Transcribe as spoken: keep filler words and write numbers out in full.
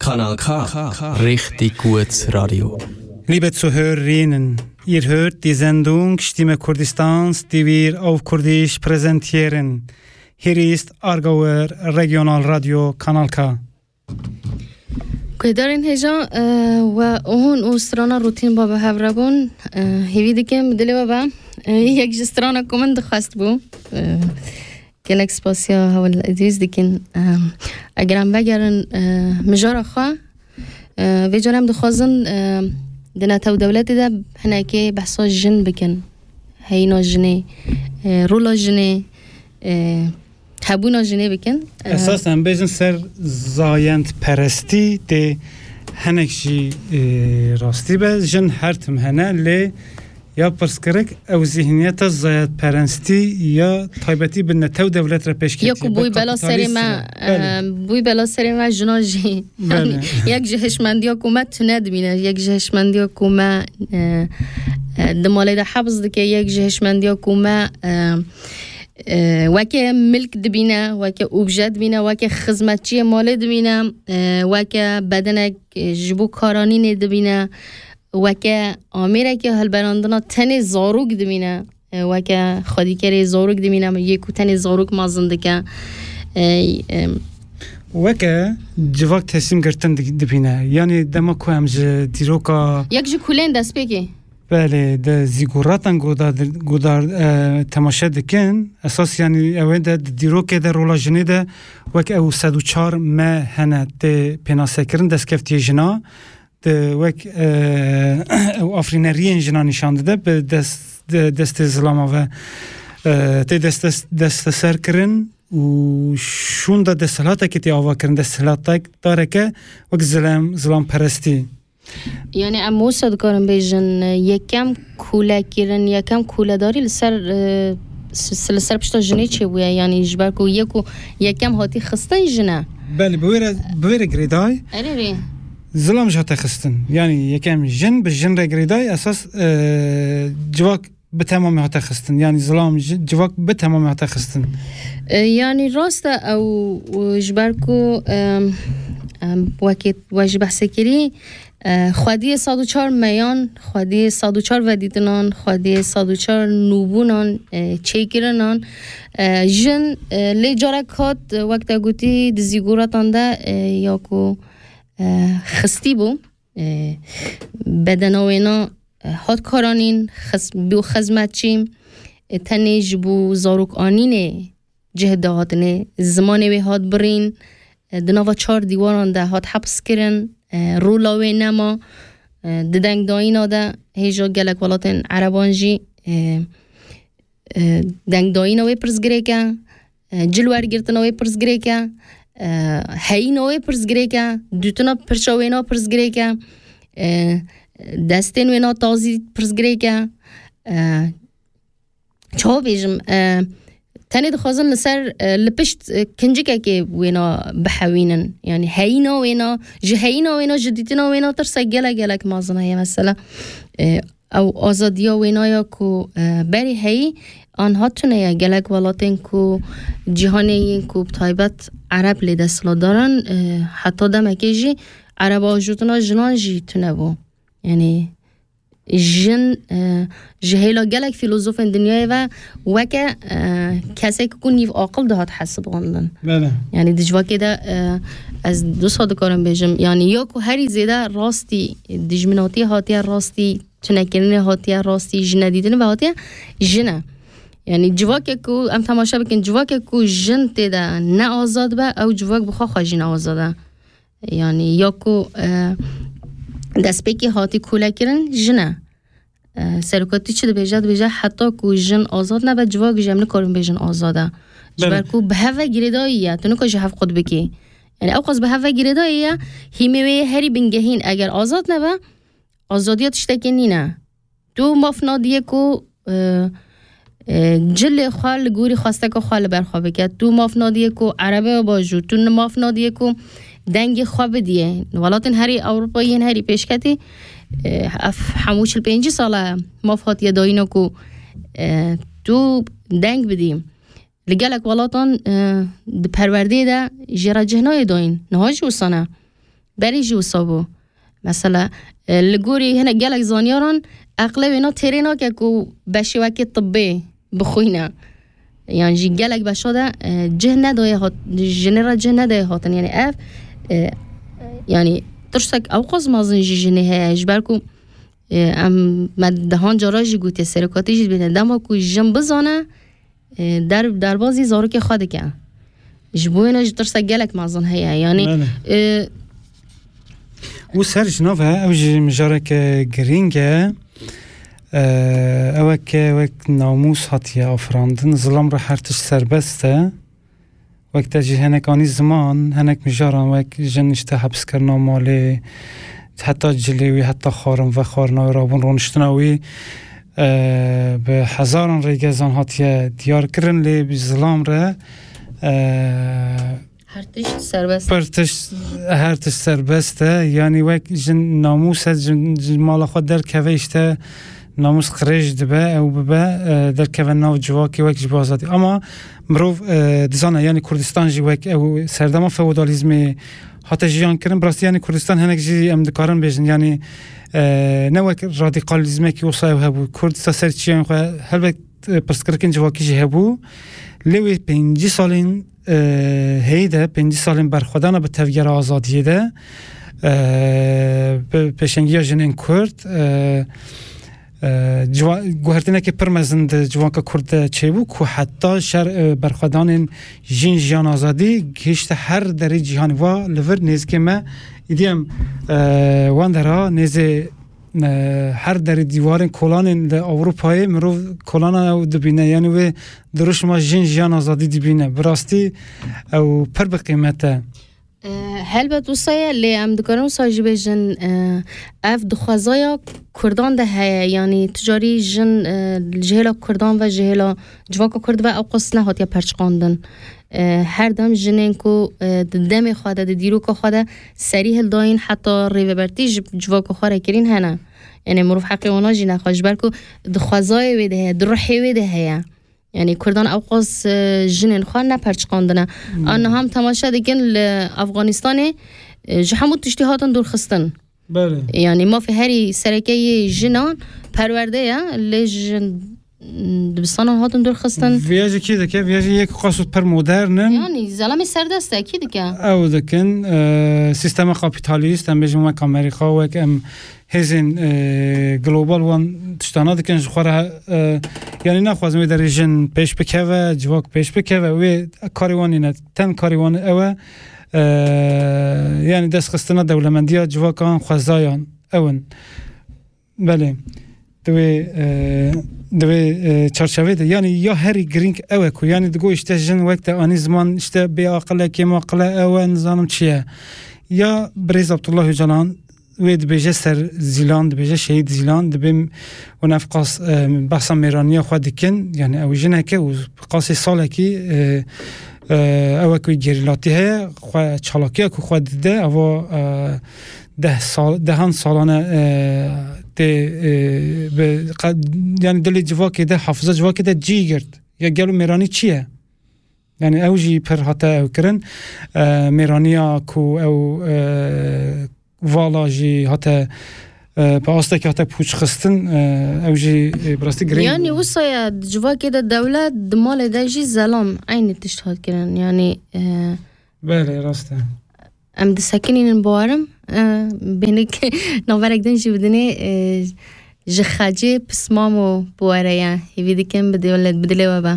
Kanal K. Richtig gut Radio. Liebe Zuhörerinnen, ihr hört die Sendung Stimme Kurdistans, die wir auf Kurdisch präsentieren. Hier ist Aargauer Regionalradio Kanal K. Guhdarên hêja, e, we hûn û strana rûtîn ba bi hev re bûn. E, hêvî dikim dilê we be. E, yek ji strana ku min dixwest bû. E, gelek spasiya Hewil Îdrîs dikin. E, eger em vegerin, e, mijara xwe, e, vê cara em dixwazin, e, di netew dewletê de hinekê behsa jin bikin. Heyîna jinê, e, rola jinê, e, hebûna jinê bikin. E, Esas em bêjin ser zayendperestî tê hinek jî, e, rastî be. Jin her tim hene, lê ya pirsgirêk ew zîhniyeta zayendperestî ya taybetî bi netew dewlet re pêş ketiye. Ya ku bûy bela serê me, e, bûy bela serê me jina jî. Belê. Yek ji hişmendiya ku me tune dibîne, yek ji hişmendiya ku me, e, e, di malê de hebs dike, yek ji hişmendiya ku me, e, e, weke milk dibîne, weke obje dibîne, weke xizmetçiyê malê dibîne, e, weke bedenek, e, ji bo karanînê dibîne, weke amêreke hilberandina tenê zarok dibîne, e, weke xwedîkerê zarok dibîne, yê ku tenê zarok mezin dike. E, e, Weke civak tesîm girtin di-, dibîne. Yanî dema ku em ji dîroka Yek ji kulên destpêkê. Belê, di zîguratan guhdar, guhdar, e, temaşe dikin. Esas, yanî, ew ê de di dîrokê de, rola jinê de wek ew sed û çar me hene tê pênasekirin, destkeftiyê jina, di wek, e, ew afrîneriyên jina nîşan dide, bi dest, de-, destê zilama ve, e, tê dest, dest, desteser kirin û şûnda desthilateke tê ava kirin, desthilatek dareke wek zilem, zilamperestî. Yani em wisa dikarin bêjin, yekem kûlekirin, yekem kûledarî li ser, e, s-, s-, li ser pişta jinê çêbûye. Yani ji ber ku yê ku yekem hatî xistin jin e. Belê, bi wê re, bi wê re girêdayî. Erê rê. Zilam jî hate xistin. Yani yekem jin bi jin re girêdayî, esas, e, civak bi temamî hate xistin. Yani zilam ji-, civak bi temamî hate xistin. E, yani rast e ew, e, ji ber ku, em, em, wekî we jî behsê kirî, e, xwediyê sed û çar meyan, xwediyê sed û çar vedîtinan, xwediyê sed û çar nûbûnan, e, çêkirinan, e, jin, e, lê carek hat, e, wek te gotî di zîgoratan de, e, ya ku, e, xistî bû, e, bedena wêna, e, hat karanîn, xis-, bû xizmetçî, e, tenê ji bo zarok anînê cih dihatinê, zimanê wê hat birîn, e, di nava çar dîwaran de hat heps kirin, e, rola wê nema, e, di dengdayîna de hêja gelek welatên ereban jî, e, e, dengdayîna wê pirsgirêk e, e, cilwergirtina wê pirsgirêk e, e, heyîna wê pirsgirêk e, dûtina pirça wêna pirsgirêk e, e, destên wêna tazî pirsgirêk e, e, çawa bêjim, e, tenê dixwazin li ser, e, li pişt, e, kincikekê wêna bihewînin. Yani heyîna wêna, ji heyîna wêna, ji dîtina wêna tirse gelek gelek mezin heye mesela. E, ew azadiya wêna ya ku, e, berê heyî anha tune ye. Gelek welatên ku cîhanê yên ku bi taybet Ereb lê desthilatdar in, e, heta demekê jî Ereb ajotina jinan jî tune bû. Yani jin, e, ji hêla gelek fîlozofên dinyayê ve weke, e, kesek ku nîv aqil dihat hesibandin. Bele. Yani di civakê de, e, ez du sed dikarim bêjim. Yani ya ku herî zêde rastî dijminatî hatiye, rastî tunekirinê hatiye, rastî jinedîtinê ve hatiye, jin e. Yani civakek ku em temaşe bikin, civakek ku jin tê de ne azad be, ew civak bi xwe xwe jî ne azad e. Yani ya ku, e, destpêkê hatî kûlekirin jin e. E, serokatî çi dibêje? Dibêje heta ku jin azad nebe, civak jî em nikarin bêjin azad e. Ji Belê. ber ku bi hev ve girêdayî ye. Tu nikare ji hev qut bikî. Yani ew qas bi hev ve girêdayî ye. Hîmê wê herî bingehîn eger azad nebe, azadiya tiştekê nîne. Tu maf nadiyê ku, e, e, cilê xwe li gorî xwesteka xwe li ber xwe bike. Tu maf nadiyê ku erebê bajû. Tu maf nadiyê ku dengê xwe bidiyê. Welatên herî Ewropa yên herî pêşketî, e, ev hemû çil pêncî sal e maf hatiye dayîna ku, e, tu deng bidî. Li gelek welatan, e, di perwerdeyê de jê re cih nayê dayîn. Niha jî wisa ne. Berê jî wisa bû. Mesela, e, li gorî hinek gelek zanyaran eqlê wê na têrê nake ku beşê wekê tibbê bixwîne. Yan jî gelek beşa de, e, cih nedaye hat-, jinê re cih nedaye hatin. Yani ev, e, yani tirsek ewqas mezin jî jinê heye. Ji ber ku, e, em, me dehan cara jî gotiye, serokatî jî dibêne. Dema ku jin bizane, e, der-, derbazî zarokê xwe dike. Ji bo wêne jî tirsa gelek mezin heye. Yani, Belê. e, Û ser ji nav e, ew jî mijareke girîng e. E, ew e ke wek namûs hatiye afirandin, zilam re her tişt serbest e. Wek te jî hinek anî ziman, hinek mijaran wek jin işte hepskirina malê, heta cilê wî, heta xwarin vexwarina wî, rabûn rûniştina wî, e, bi hezaran rêgezan hatiye diyar kirin, lê bi zilam re, e, Her tişt serbest. Pir tişt, her tişt serbest e. Yani wek jin namûs e, jin, jin mala xwe derkeve işte namûs qirêj dibe, ew bibe, e, derkeve nav civakê wek ji bo azadî. Ama mirov, e, dizane, yani Kurdistan jî wek ew serdema feodalîzmê hate jiyan kirin. Bi rastî yani Kurdistan hinek jî em dikarin bêjin. Yani, e, ne wek radîkalîzmekî wisa ew hebû. Kurd sa ser çiyên xwe helbet, e, pirsgirêkên civakî jî hebû. Lê wê pêncî salên, e, heyî de, pêncî salên berxwedana bi tevgera azadiyê de, e, bi pêşengiya jinên Kurd, e, e, ciwa-, guhertinekê pir mezin di civaka Kurd de çêbû ku heta şer, e, berxwedanên jin, jiyan, azadî gihişte her derê cîhanê. Va li vir nêzikê me, îdî em, e, wan dera nêzê, e, her derê dîwarên kolanên li Ewropayê mirov kolana ew dibîne. Yani wê dirûşma jin, jiyan, azadî dibîne. Bi rastî ew pir bi qîmet e. E, helbet wisa ye, lê em dikarin wisa jî bêjin, e, ev dixwezaya Kurdan de heye. Yani tu carî jin, e, ji hêla Kurdan ve, ji hêla civaka Kurd ve ew qas nehatiye perçiqandin. E, her dem jinên ku, e, di demê xwe de, di dîroka xwe de serî hildayîn, heta rêvebertî ji civaka xwe re kirîn hene. Yani mirov heqê wana jî nexwe, ji ber ku di xwezayê wê de heye, di ruhê wê de heye. Yani Kurdan ew qas, e, jinên xwe neperçiqandine. Hmm. An niha em temaşe dikin li Afganistanê, e, ji hemû tiştî hatin dûrxistin. Belê. Yani mafê herî sereke yê jinan perwerde ye, lê jin, dibistanan hatin dûrxistin. Viya jî kî dike? Viya jî yek qas û pir modern in. Yani zelamê serdest e, kî dike? Ew dikin, e, sîstema kapîtalîst, em bêjin wek Amerîka, wek em hêzên, e, global wan tiştana dikin ji xwe re, e, yani naxwazin wê derê jin pêş bikeve, civak pêş bikeve, wê karê wan nîne, ten karê wan ew e, e, yani destxistina dewlemendiya civakan, xwezayan ew in. Belê. Di wê, e, di wê, e, çarçevê de, yani ya herî girîng ew e ku, yani digo işte jin wek te anî ziman, işte bê aqil e, kêm aqil e, ew e, nizanim çi ye. Ya birêz Abdullah Öcalan wê dibêje ser Zîlan, dibêje şehîd Zîlan, dibê hûn ev qas, e, behsa mêraniya xwe dikin, yani ew jineke û qasê salekî, e, e, ew e ku gerîlatî heye, xwe çalakiya ku xwe dide, eva, e, deh sal, dehan salane, e, tê, e, bi, qa-, yani dilê civakê de, hafiza civakê de cî girt. Ya gelo mêranî çi ye? Yani ew jî pir hate ew kirin. E, mêraniya ku ew, e, vala jî hate, e, bi astekî hate pûçxistin, e, ew jî, e, bi rastî girîng. Yani wisa ye, di civakê de dewlet, di malê de jî zelam eynî tişt hat kirin. Yani, e, Belê, rast e. Em disekinînin bawerim, e, bênik naverek din jî bidinê, e, ji xecê pismamo biwere ye. Hêvî dikim bi dewlet, bi dilê we be.